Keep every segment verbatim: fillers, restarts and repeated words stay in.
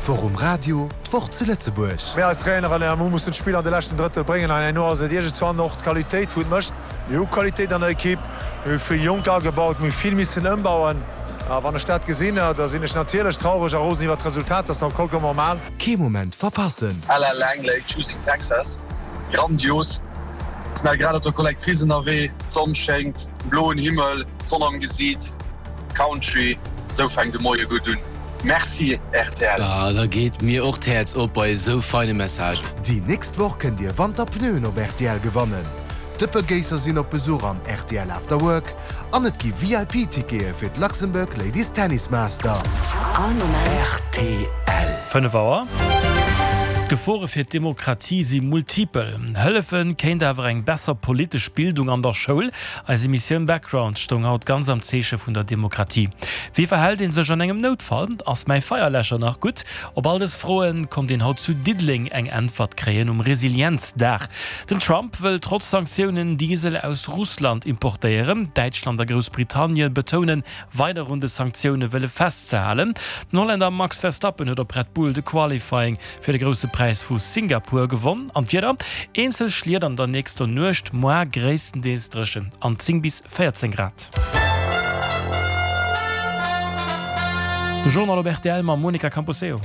D'Woch um Radio, d'Woch zu Lëtzebuerg. Mir als Traineren, mir mussen d'Spill an de leschten Drëttel bréngen an herno ass et iergendzwann och d'Qualitéit wou et mécht. Mir hu Qualitéit an der Ekipp, mir hu vill Jonker agebaut, mir hu vill missen ëmbauen. A wann ech dat gesinn, da sinn ech natierlech traureg a rosen iwwer d'Resultat, dat ass nach vollkommen normal. Kee Moment verpassen! Ella Langley, Choosing Texas, Grandios! Sinn hei grad op der Collectrice ënnerwee, d'Sonn schéngt, bloen Himmel, d'Sonn am Gesiit, Country, esou fänkt de Moie gutt un. Merci rtl! Ah, da geet mir och d'Häerz op bei esou feine Messagen. Déi nächst Woch kënnt Dir Wanterpneuen op rtl gewannen. D'Dëppegéisser sinn op Besuch am rtl After Work an et gi V I P-Tickete fir d'Luxembourg Ladies Tennis Masters. All Moment. R T L. Fënnef Auer. D'Gefore fir d'Demokratie si multipel. Hëllefe kéint awer eng besser politesch Bildung an der Schoul. Eis Emissioun Background stoung haut ganz am Zeeche vun der Demokratie. Wéi verhält een sech an engem Noutfall? Ass mäi Feierläscher nach gutt? Op all dës Froe konnt een haut zu Diddeleng eng Äntwert kréien um Resilienzdag. Den Trump wëll trotz Sanktiounen Diesel aus Russland importéieren. Däitschland a Groussbritannien betounen, weider un de Sanktioune wëlle festzehalen. Den Hollänner Max Verstappen huet op Red Bull de Qualifying fir de Grousse Präis vu Singapur gewonn. An d'Wieder, Eenzel Schliet an der nächster Nuecht, muer gréisstendeels dréchen an zéng bis véierzéng Grad. De Journal op R T L mam Monica Camposeo.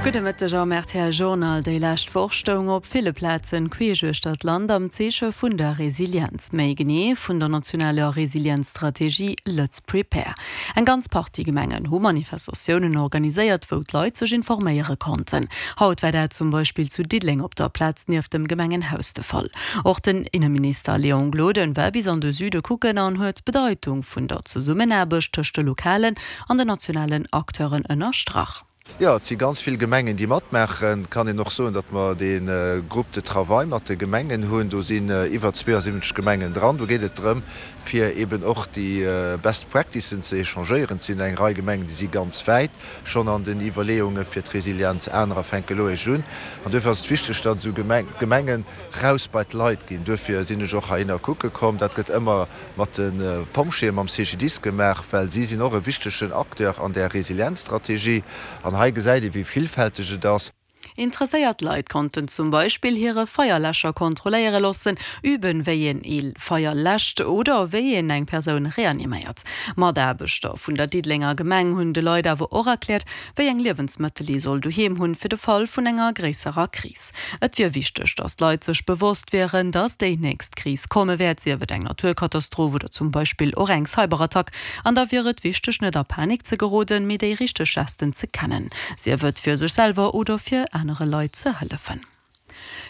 Gudde Mëtteg am R T L Journal. Déi lescht Woch stoung op ville Plazen queesch uechter d'Land am Zeeche vun der Resilienz. Méi genee vun der nationaler Resilienzstrategie Lëtz Prepare. Eng ganz Partie Gemengen hu Manifestatiounen organiséiert, wou d'Leit sech informéiere konnten. Haut war dat zum Beispill zu Diddeleng op der Plaz nieft dem Gemengenhaus de Fall. Och den Inneminister Léon Gloden war bis an de Süde kucken an huet d'Bedeitung vun der Zesummenaarbecht tëscht de lokalen an den nationalen Acteuren ënnerstrach. Jo, et si ganz vill Gemengen, déi matmaachen. Kann een och soen, datt mer de Groupe de travail mat de Gemengen hunn. Do sinn iwwer zweeasiwwenzeg Gemengen dran. Do geet et drëm, fir eben och déi Best Practicen ze échangéieren. Et sinn eng Rei Gemengen, déi si ganz wäit schonn an den Iwwerleeunge fir d'Resilienz, anerer fänke lo eréischt un. An duerfir ass et wichteg, datt esou Gemengen raus bei d'Leit ginn. Duerfir sinn ech och heihinner kucke komm. Dat gëtt ëmmer mat de Pompjeeën, mam C G D I S gemaach, well si sinn och e wichtegen Acteur an där Resilienzstrategie. An hei gesäit ee wéi villfälteg et ass. Interesséiert Leit konnten zum Beispill hire Feierläscher kontrolléiere loossen, üben, wéi een e Feier läscht oder wéi een eng Persoun reaniméiert. Mataarbechter vun der Diddelenger Gemeng hunn de Leit awer och erkläert, wéi eng Liewensmëttel ee soll doheem hunn fir de Fall vun enger gréisserer Kris. Et wier wichteg, datt d'Leit sech bewosst wieren, datt déi nächst Kris komme wäert, sief et eng Naturkatastroph oder zum Beispill och eng Cyberattack. An da wier et wichteg, net a Panik ze geroden, mee déi richteg Gesten ze kennen. Sief et fir sech selwer oder fir anere Leit ze hëllefen.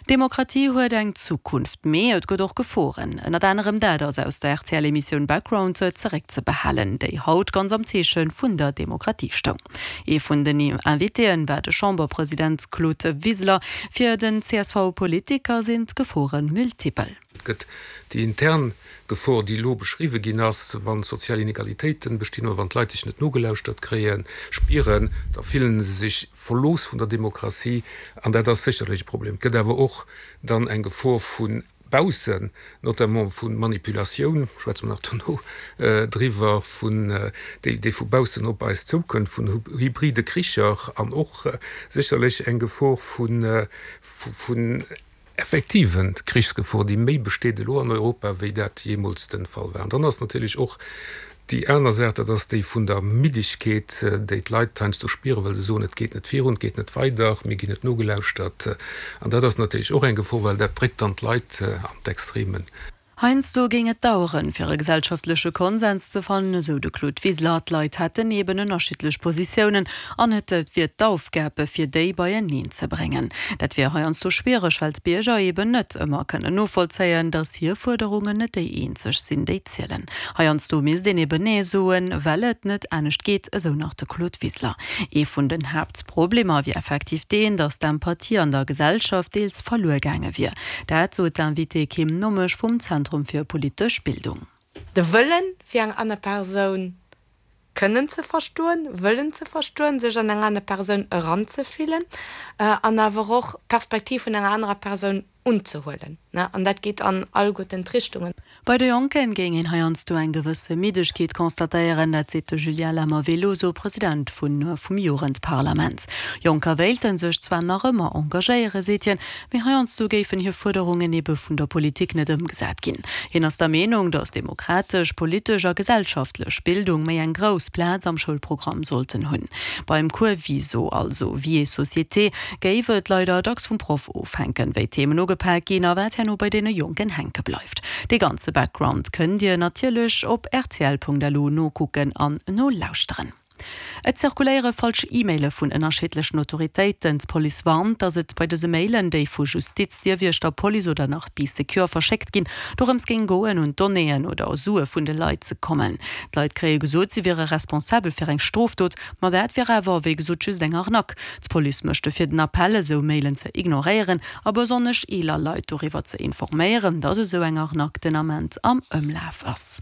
Demokratie huet eng Zukunft, mee et gëtt och Geforen. Ënnert anerem dat ass aus der R T L-Emissioun Background zeréckzebehalen, déi haut ganz am Zeeche vun der Demokratie stoung. Ee vun den Invitéen war de Chamberpresident Claude Wiseler. Fir den C S V-Politiker sinn d'Gefore multipel. Et gëtt déi intern Gefor, déi lo beschriwwe ginn ass, wann sozial Inegalitéiten bestinn oder wann d'Leit sech net nogelauschtert kréien, spieren, da fillen se sech verlooss vun der Demokratie an dat ass sécherlech e Problem. Et gëtt awer och dann eng Gefor vu baussen, notamment vu Manipulatioun, schwätze mer nach dono driwwer, vun déi déi vu baussen op eis zoukënnt, vun hybride Kricher an och sécherlech eng Gefor vun vun effektiven Krichsgefor, déi méi besteet elo an Europa, wéi dat jeemools de Fall war. An dann ass natierlech och déi aner Saach, dat ass déi vun der Middegkeet, déi d'Leit heiansdo spieren, well se soen, et geet net virun, et geet net weider, mir ginn net nogelauschtert. An dat ass natierlech och eng Gefor, well dat dréckt dann d'Leit an d'Extremen. Heiansdo géing et daueren, fir e gesellschaftleche Konsens ze fannen, esou de Claude Wiseler. D'Leit hätten eben ënnerschiddlech Positiounen an et wier d'Aufgab, fir déi beieneen ze bréngen. Dat wier heiansdo schwiereg, well d'Bierger eben net ëmmer kënnen novollzéien, datt hir Fuerderungen net déi eenzeg sinn, déi zielen. Heiansdo misst een eben Nee soen, well et net anescht geet, esou nach de Claude Wiseler. Ee vun den Haaptproblemer wier effektiv deen, datt d'Empathie an der Gesellschaft deels verluer gaange wier. Dat sot d'Invitée Kim Nommesch vum Zentrum fir politesch Bildung. De Wëllen fir eng aner Persoun kënnen ze verstoen, wëllen ze verstoen, sech an eng aner Persoun eranzefillen, an awer och d'Perspektiv vun enger anerer Persoun unzehuelen, ne? An dat geet an alleguerten d'Richtungen. Bei de Jonken géing een heiansdo eng gewësse Middegkeet constatéieren, dat seet de Julien Lemmer-Veloso, President vun vum Jugendparlament. Jonker wéilte sech zwar nach ëmmer engagéieren, seet hien, mee heiansdo géifen hir Fuerderungen ebe vun der Politik net ëmgesat ginn. Hien ass der Meenung, datt demokratesch, politesch a gesellschaftlech Bildung méi eng grouss Plaz am Schoulprogramm sollten hunn. Beim Cours Viso, also Vie et Société, géif et leider dacks vum Proff ofhänken, wéi d'Themen ugepak ginn a wat herno bei deene Jonken hänke bleift. Dee ganze Background kënnt Dir natierlech op rtl.lu nokucken an nolauschteren. Et zirkuléiere falsch E-Maile vun ënnerschiddlechen Autoritéiten. D'Police warnt, datt et bei dëse Mailen, déi vu Justiz, Dierwiechter, Police oder nach Bee Secure verschéckt ginn, dorëms géing goen, un d'Donnéeën oder Sue vun de Leit ze kommen. D'Leit kréie gesot, si wiere responsabel fir eng Strofdot, ma dat wier awer wéi gesot just eng Arnaque. D'Police mécht dofir den Appell, esou Mailen ze ignoréieren a besonnesch eeler Leit doriwwer ze informéieren, datt esou eng Arnaque den Ament am Ëmlaf ass.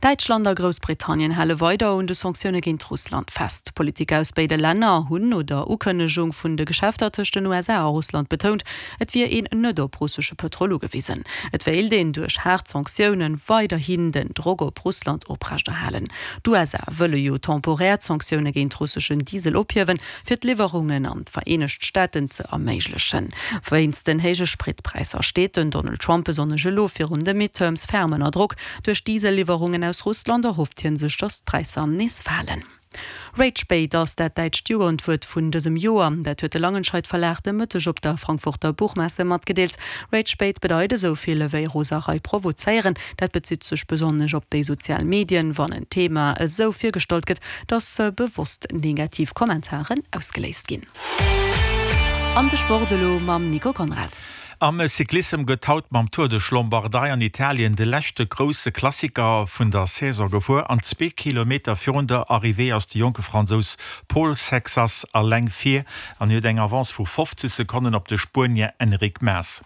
Däitschland a Groussbritannien hale weider un de Sanktioune géint Russland fest. Politiker aus béide Länner hunn no der Ukënnegung vun de Geschäfter tëscht den U S A a Russland betount, et wier een net op russesche Pëtrol ugewisen. Et wéilt een duerch haart Sanktioune weiderhin den Drock op Russland oprechterhalen. D'U S A wëlle jo temporär d'Sanktioune géint russeschen Diesel ophiewen, fir d'Liwwerungen an d'Vereenegt Staaten ze erméiglechen. Wéinst den héije Spritpräisser steet den Donald Trump besonnesch elo virun de Midterms ferm ënner Drock. Duerch Dieselliwwerungen aus Russland erhofft hien sech, datt d'Präisser nees falen. Ragebait ass dat däitscht Jugendwuert vun dësem Joer. Dat huet de Langenscheidt Verlag de Mëtteg op der Frankfurter Buchmesse matgedeelt. Ragebait bedeit esou vill ewéi Roserei provozéieren. Dat bezitt sech besonnesch op déi sozial Medien, wann en Thema esou virgestallt gëtt, datt bewosst negativ Kommentaren ausgeléist ginn. An de Sport elo mam Nico Conrad. Am Cyclissem gëtt haut mam Tour de Lombardei an Italien de leschte grousse Klassiker vun der Saison gefuer. An zwee Kilometer virun der Arrivée ass de jonke Fransous Paul Sexas eleng vir an huet eng Avance vu fofzeg Sekonnen op de Spuenier Enric Mas.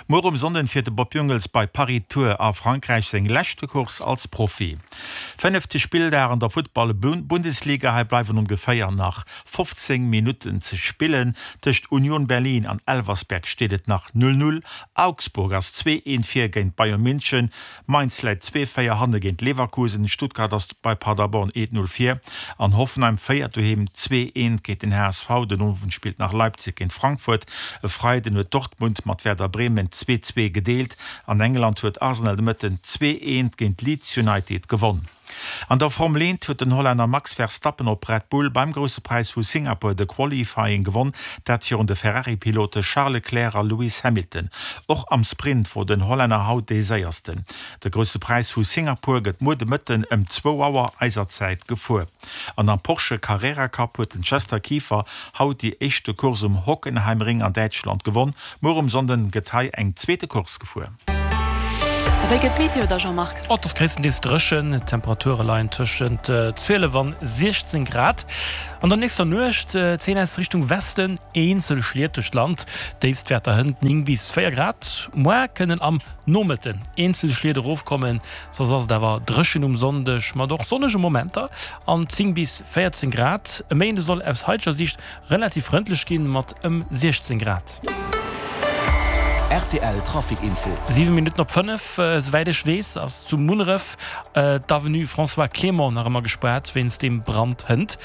Muer um Sonnden fiert de Bob Jungels bei Paris-Tours a Frankräich seng leschte Course als Profi. Fënnefte Spilldag an der Futtball-Bundesliga, hei bleiwen ongeféier nach fofzéng Minutten ze spillen. Tëscht Union Berlin an Elversberg steet et nach null null. Augsburg ass zwee eent vir géint Bayern München, Mainz läit zwee véier hanne géint Leverkusen, Stuttgart ass bei Paderborn eent null vir an Hoffenheim féiert doheem zwee eent géint den H S V. Den Owend spillt nach Leipzig géint Frankfurt. E Freiden huet Dortmund mat Werder Bremen zwee zwee gedeelt. An England huet Arsenal de Mëtten zwee eent géint Leeds United gewonn. An der Formel eent huet den Hollänner Max Verstappen op Red Bull beim Grousse Präis vu Singapur de Qualifying gewonn, dat virun de Ferrari-Pilote Charles Leclerc a Lewis Hamilton. Och am Sprint wor den Hollänner haut dee séiersten. De Grousse Präis vu Singapur gëtt muer de Mëtten ëm zwou Auer eiser Zäit gefuer. An am Porsche Carrera Cup huet den Chester Kieffer haut déi éischte Course um Hockenheimring an Däitschland gewonn. Muer um Sonnden gëtt hei eng zweete Course gefuer. Wéi gëtt d'Meteo da, Jean-Marc? Oh, et ass gréisstendeels dréchen. D'Temperature leien tëschent zwielef an siechzéng Grad. An der nächster Nuecht zéien aus Richtung Westen eenzel Schliet duerch d'Land. Déifstwäerter hënt néng bis véier Grad. Muer kënnen am Nomëtten eenzel Schliet erofkommen. Soss ass et awer dréchen um Sonndeg mat och sonnege Momenter an zéng bis véierzéng Grad. E Méinde soll aus haiteger Siicht relativ frëndlech ginn mat ëm siechzéng Grad. R T L Trafic Info. Siwe Minutten op fënnef, esouwäit ech weess, ass zu Munneref d'Avenue François Clément nach ëmmer gespaart wéinst dem Brand hënt.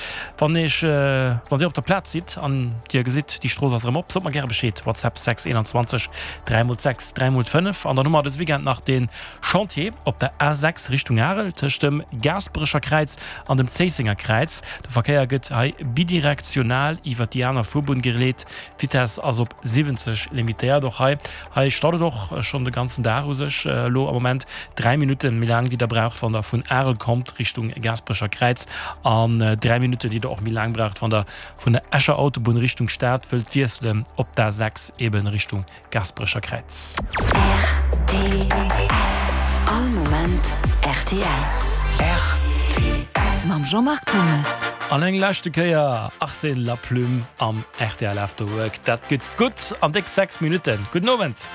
Wann iech, wann Dir op der Plaz sidd an Dir gesitt, déi Strooss ass erëm op, sot mer gäre Bescheed. WhatsApp sechs eenanzwanzeg dräi mol sechs dräi mol fënnef. An dann hu mer dës Weekend nach de Chantier op der A sechs Richtung Arel tëscht dem Gaasperecher Kräiz an dem Zéissenger Kräiz. De Verkéier gëtt hei bidirektional iwwer déi aner Fuerbunn geleet. D'Vitess ass op siwwenzeg limitéiert. Och hei, hei staut et och schonn de ganzen Dag u sech. Elo am Moment dräi Minutten méi laang, déi der braucht, wann der vun Arel kommt Richtung Gaasperecher Kräiz an dräi Minutten, déi der och méi laang braucht, wann der vun der Escher Autobunn Richtung Stad wëllt wiesselen op der A sechs eben Richtung Gaasperecher Kräiz. R T L. All Moment R T L. R T L. Mam Jean-Marc Thomas. An eng leschte Kéier Arsène Laplume am R T L After Work. Dat gëtt gutt an déck sechs Minutten. Gudden Owend.